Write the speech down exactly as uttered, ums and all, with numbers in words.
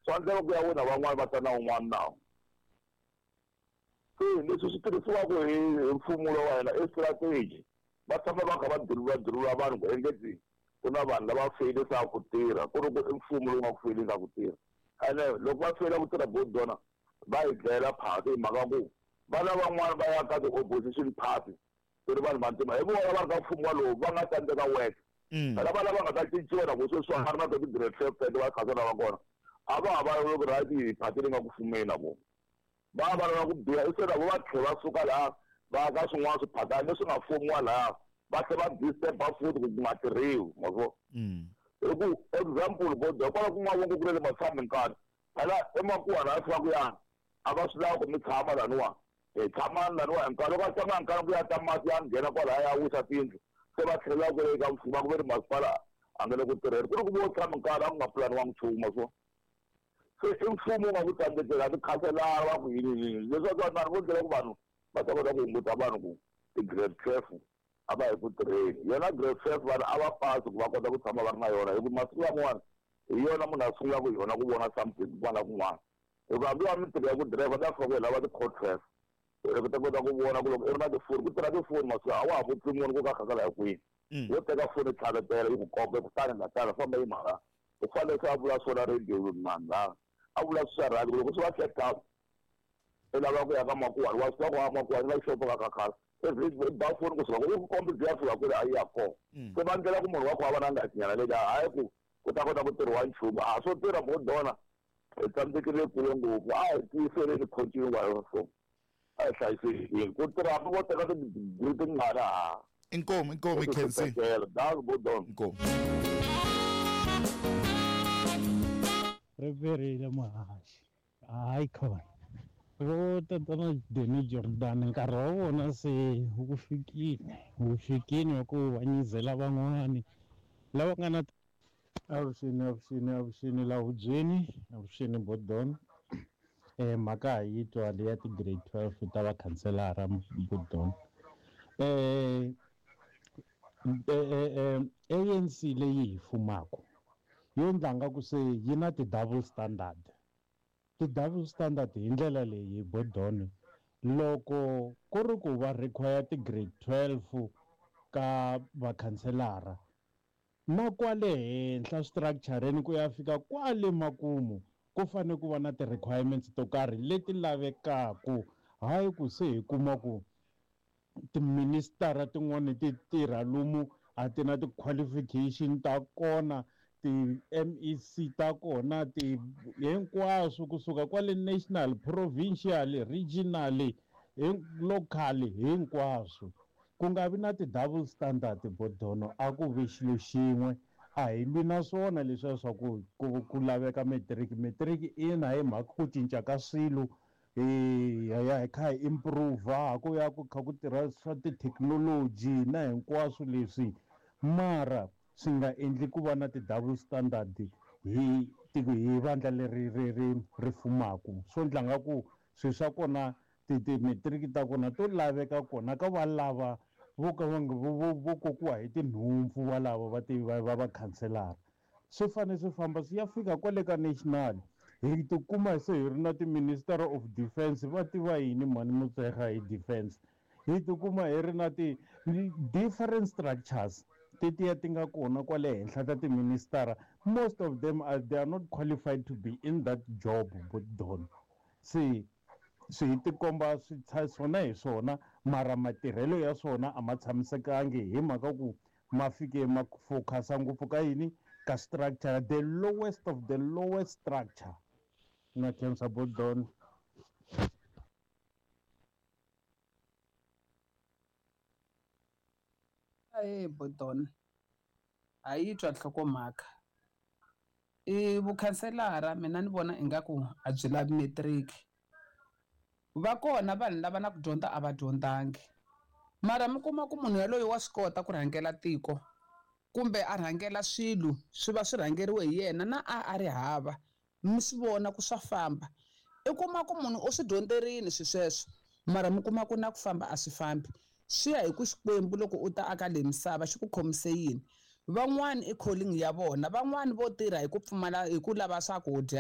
Swa endleka ku ya wina van'wani va ta na wun'wana nawu. Se leswi swi tirhisiwaka hi hi mfumo lowa wa hina i strategy. Va tshama va kha va dirula dirula vanhu ku engeti ku na vanhu lava feyilisaka ku tirha ku ri ku i mfumo lowu nga ku feyilisaka ku tirha. Ene loko va feyila ku tirha bodona va hi dlayela phati hi mhaka ku vana van'wani va ya ka ti-opposition party ku ri vanhu vantima hi vona va ri ka mfumo walowu va nga tsandzeka work. Phela vana va nga ta cinciwa na ku sweswi va ri na ti-grade twelve tete va khansela va kona a va ha va ku right phati leyi nga ku fumeni na vona. Va va lava ku biha i se na vo va tlhela va suka laha va ka swin'wana swiphatana leswi nga fumiwa laha va tlhela va disturb-a futhi ku nga tirhiwi ma vo. Hi ku example bodo kwala ku nga vongo ku le matshami nkarhi phela emakuwa laha fika ku ya a va swi lava ku mi tshama laniwa hi tshama laniwa hi nkarhi loko a tshama nkarhi ku ya ta mati ya nghena kwalaya ya wisa tiyindlu se va tlhelela ku eka mfumo ku ve ri masipala a nga le ku tirheni ku ri ku vo tshama nkarhi a ku nga pulaniwangi nchumu so se i mfumo wu nga ku tsandzekela tikhanselara va ku yini yini leswaku vanhu vo ndlela ku vanhu va ta kota ku hunguta vanhu ku ti-grade twelve a va hi ku tirheni yona grade twelve vanhu a va pasi ku va kota ku tshama va ri na yona hi ku masiku laman'wana hi yona munhu a sungulaka hi yona ku vona something kun'wana na kun'wana hikuva hambi wa mintirho ya ku dirayivha ta fika ku hi lava ti-code twelve ku ta kota ku vona ku loko i ri na tifoni ku tirha tifoni masiku a wa ha vutisi munhu ku ka khasela hi kwini wo teka foni tlhavetela yi ku komba kutani nga tala famba yi mhaka u fanele se a vula swona radio mani laha a vula swi swa rhandi loko swi va check up i lava ku ya ka makuwani wa swi tiva ku a makuwani va xopo ka khakhala every ba foni kusuka ku i ku kombi byi ya fika kule a yi ya kona se va ndlela ku munhu wa ku a va na ngatinyana leyi hayi ku ku ta kota ku tirhiwa nchumu a swo tirha bodona hi tsandzekile kule ngopfu a hi tiyiseleni continue wa yona so a hi hlayisekile ku tirha hambi vo teka tidigiri tingani ha inkomu inkomu ikhensi inkomu ri perile muhaxi hayi khona vo tatana Danny Jordan nkarhi wa vona se wu fikile wu fikile wa ku va nyizela van'wani lava nga na avuxeni avuxeni avuxeni la hubyeni avuxeni bodon eh mhaka hi yi twa leya ti-grade twelve ta vakhanselara bodon eh A N C leyi hi fumaka yo endla nga ku se yi na ti-double standard ti-double standard hi ndlela leyi bodon loko ku ri ku va require ti-grade twelve ka vakhanselara na kwale henhla structure-ni ku ya fika kwale makumu ku fanele ku va na ti-requirements to karhi leti lavekaku hayi ku se hi kuma ku tiministara tin'wani ti tirha lomu a ti na ti-qualification ta kona ti-M E C ta kona ti hinkwaswo kusuka kwale national provincial regional local hinkwaswo ku nga vi na ti-double standard bodono a ku vi xilo xin'we a hi lwi na swona leswiya swa ku ku ku laveka matric matric ina hi mhaka ku cinca ka swilo hi ya hi kha hi improve ku ya ku kha ku tirha swa tithekinoloji na hinkwaswo leswi mara swi nga endli ku va na ti-double standard hi hi vandla leri ri ri ri fumaku swo endla nga ku swilo swa kona ti-matric ta kona to laveka kona ka va lava vo ka va vo vo kokiwa hi tinhompfu va lava va ti va va vakhanselara swi fanele swi famba swi ya fika kwale ka national hi tikuma se hi ri na ti-minister of defense va tiva yini mhani Motshekga hi defense hi tikuma hi ri na ti-different structures tetiya ti nga kona kwale henhla ta tiministara most of them are they are not qualified to be in that job but don se swi tikomba swi swona hi swona mara matirhelo ya swona a ma tshamisekangi hi mhaka ku ma fike ma focusa ngopfu ka yini ka structure the lowest of the lowest structure na khensa bodon Hey bodon a yi twa nhlokomhaka i vukhanselara mina ni vona ingaku a byi lavi matric va kona vanhu lava na ku dyondza a va dyondzangi mara mi kuma ku munhu yaloye wa swi kota ku rhangela tiko kumbe a rhangela swilo swi va swi rhangeriwe hi yena na a a ri hava mi swi vona ku swa famba i kuma ku munhu u swi dyondzerini swi sweswo mara mi kuma ku na ku famba a swi fambi swi ya hi ku Xikwembu loko u ta aka leyi misava xi ku khomise yini van'wani i calling ya vona van'wani vo tirha hi ku pfumala hi ku lava swakudya.